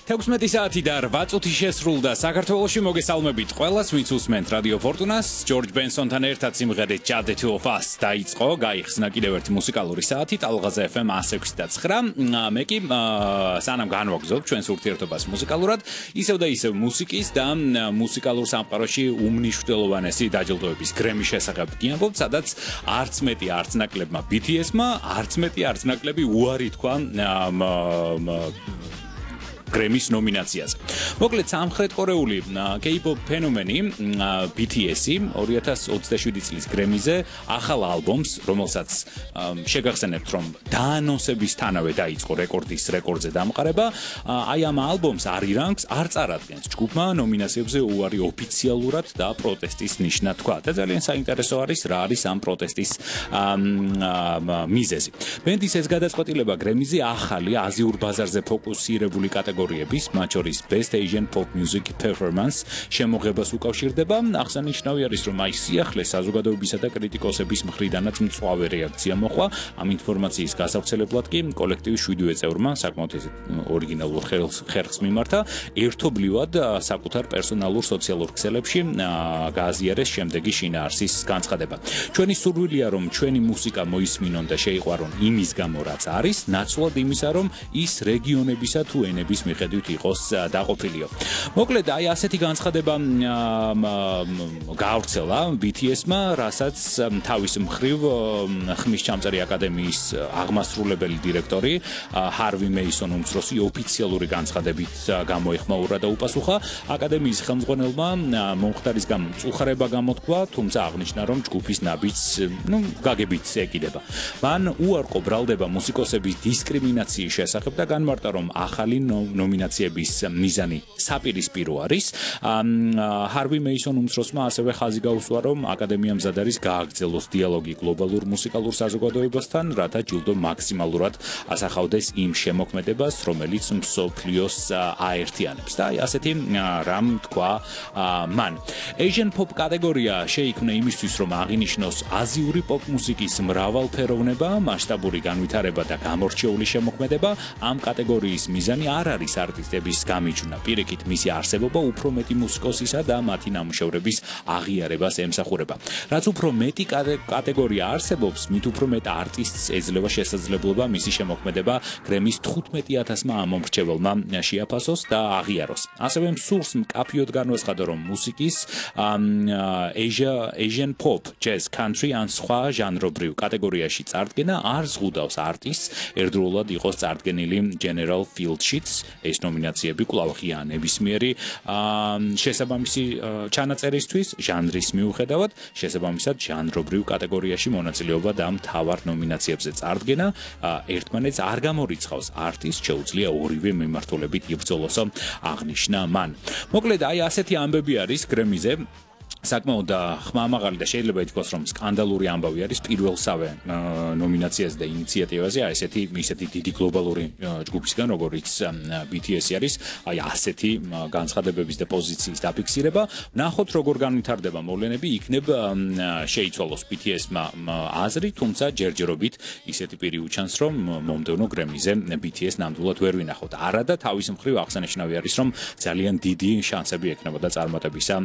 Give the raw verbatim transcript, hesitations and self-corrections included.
თექვსმეტი საათი და რვა წუთი შესრულდა საქართველოში მოგესალმებით ყველას, ვინც უსმენთ რადიო ფორტუნას. ჯორჯ ბენსონთან ერთად სიმღერით Jade Two of Us დაიწყო, გაიხსნა კიდევ ერთი მუსიკალური საათი ტალღაზე ეფ ემ one six three. მე კი სანამ განვაგზავნებ ჩვენს ურთიერთობას მუსიკალურად, ისევ და ისევ მუსიკის და მუსიკალურ სამყაროში უმნიშვნელოვანესი დაჯილდოების გრემის შესახებ გიამბობთ, სადაც არც მეტი არც ნაკლებმა ბი თი ეს-მა, არც მეტი არც ნაკლები უარი თქვა გრემის ნომინაციაზე. მოკლედ სამხრეთკორეული K-pop ფენომენი ბი თი ეს-ი ორი ათას ოცდაშვიდი წლის გრემიზე ახალ ალბომს, რომელსაც შეგახსენებთ, რომ დაანონსებისთანავე დაიწყო რეკორდის რეკორდზე დამყარება, აი ამ ალბომს არირანგს არ წარადგენს ჯგუფმა ნომინაციებზე უარი ოფიციალურად და პროტესტის ნიშნად თქვა. და ძალიან საინტერესო არის რა არის ამ პროტესტის მიზეზი. ბენდის ეს გადაწყვეტილება გრემიზე ახალი აზიურ ბაზარზე ფოკუსირებული კატეგორია მათ შორის Best Asian Pop Music Performance შემოღებას უკავშირდება. აღსანიშნავი არის, რომ აი სიახლე საზოგადოებისა და კრიტიკოსების მხრიდანაც მწვავე რეაქცია მოყვა. ამ ინფორმაციის გასავრცელებლად კი კოლექტივის შვიდივე წევრმა საკმაოდ ორიგინალურ ხერხს მიმართა, ერთობლივად საკუთარ პერსონალურ სოციალურ ქსელებში გააზიარეს შემდეგი შინაარსის განცხადება. ჩვენი სურვილია, რომ ჩვენი მუსიკა მოისმინონ და შეიყვარონ იმის გამო, რაც არის, ნაცვლად იმისა, რომ ის რეგიონებისა თუ ენების მიხედვით იყოს დაყოფილიო. მოკლედ, აი ასეთი განცხადება გაავრცელა ბი თი ეს-მა, რასაც თავის მხრივ ხმის ჩამწერი აკადემიის აღმასრულებელი დირექტორი ჰარვი მეისონ უმცროსი ოფიციალური განცხადებით გამოეხმაურა და უპასუხა. აკადემიის ხელმძღვანელმა მომხდარის გამო მწუხარება გამოთქვა, თუმცა აღნიშნა, რომ ჯგუფის ნაბიჯს, ნუ, გაგებით ეკიდება. მან უარყო ბრალდება მუსიკოსების დისკრიმინაციის შესახებ და განმარტა, რომ ახალი ნომინაციების მიზანი საპირისპირო არის. ჰარვი მეისონ უმცროსმა ასევე ხაზი გაუსვა, რომ აკადემია მზად არის გააგრძელოს დიალოგი გლობალურ მუსიკალურ საზოგადოებასთან, რათა ჯილდო მაქსიმალურად ასახავდეს იმ შემოქმედებას, რომელიც მსოფლიოს აერთიანებს. და ასეთი რამ თქვა მან. Asian Pop კატეგორია შეიქმნა იმისთვის, რომ აღინიშნოს აზიური პოპ მუსიკის მრავალფეროვნება, მასშტაბური განვითარება და გამორჩეული შემოქმედება. ამ კატეგორიის მიზანი არ არის არტისტების გამიჯვნა, პირიქით მისი არსებობა უფრო მეტი მუსიკოსისა და მათი ნამუშევრების აღიარებას ემსახურება. რაც უფრო მეტი კატეგორია არსებობს, მით უფრო მეტ არტისტს ეძლევა შესაძლებლობა მისი შემოქმედება გრემის თხუთმეტი ათასმა ამომრჩეველმა შეაფასოს და აღიაროს. ასევე მსურს მკაფიოდ განვაცხადა, რომ მუსიკის Asia, Asian Pop, Jazz, Country ან სხვა ჟანრობრივ კატეგორიაში წარდგენა არ ზღუდავს არტისტს, ერთდროულად იყოს წარდგენილი General Field-შიც. ეს ნომინაციები კვლავ ღია ნებისმიერი შესაბამისი ჩანაწერისთვის, ჟანრის მიუხედავად, შესაბამისად ჟანრობრივ კატეგორიაში მონაწილეობა და მთავარ ნომინაციებზე წარდგენა ერთმანეთს არ გამორიცხავს. არტისტს შეუძლია ორივე მიმართულებით იბრძოლოსო, აღნიშნა მან. მოკლედ, აი ასეთი ამბები არის გრემიზე. საკმაოდ ხმამაღალი და შეიძლება ითქვას, რომ სკანდალური ამბავი არის პირველსავე ნომინაციაზე და ინიციატივაზე, აი ესეთი ისეთი დიდი გლობალური ჯგუფისგან, როგორც ბი თი ეს არის, აი ასეთი განცხადებების და პოზიციის დაფიქსირება. ნახოთ, როგორ განვითარდება მოვლენები, იქნებ შეიცვალოს ბი თი ეს-მა აზრი, თუმცა ჯერჯერობით ისეთი პირი უჩანს, რომ მომდევნო გრემიზე ბი თი ეს ნამდვილად ვერ ვინახოთ. არადა თავის მხრივ აღსანიშნავი არის, რომ ძალიან დიდი შანსები ექნებოდა წარმატებისა